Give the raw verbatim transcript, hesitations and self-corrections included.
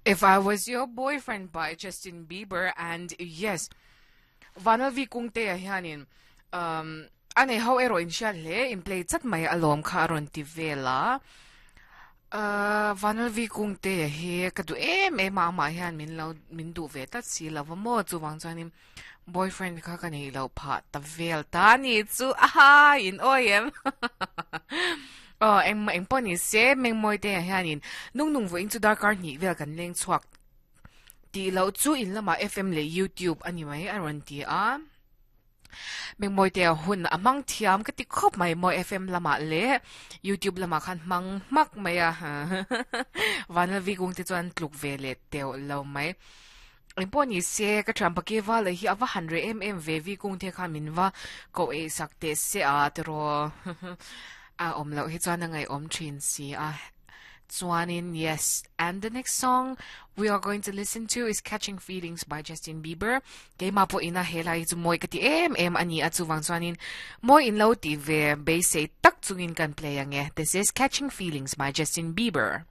If I Was Your Boyfriend by Justin Bieber and yes Vanalvi Kungte a hianin um ane ho ero in hriat hle in play chat mai alawm kha a rawn ti vel a uh Vanalvi Kungte hi ka du em em a amah hian min lo min duh ve tlat si lova maw chuwang chuanin boyfriend kha ka nei lo phah ta vel ta ni chu aha in awi em oh eng eng pawh ni se mengmawi te ah hianin nung nung vawiin chu darkar hnih vel kan leng chhuak tih loh chu in lamah F M leh YouTube a ni mai a rawn ti a mengmawi te a hun a hmang thiam ka ti khawp mai maw F M lamah leh YouTube lamah khan hmang hmak mai a Vanlalvi kung te chuan tluk ve leh teuh lo mai eng pawh ni se ka thian pake val hi a va han reh em em ve vi kung te khan min va koh eih sak teh se a tiraw a awm loh hi chuan a ngaihawm thin si a chuanin yes and the next song we are going to listen to is Catching Feelings by Justin Bieber keimah pawh ina helai hi chu mawi ka ti em em a ni a chuwang chuanin mawi in lo ti ve beisei tak chungin kan play ange this is Catching Feelings by Justin Bieber.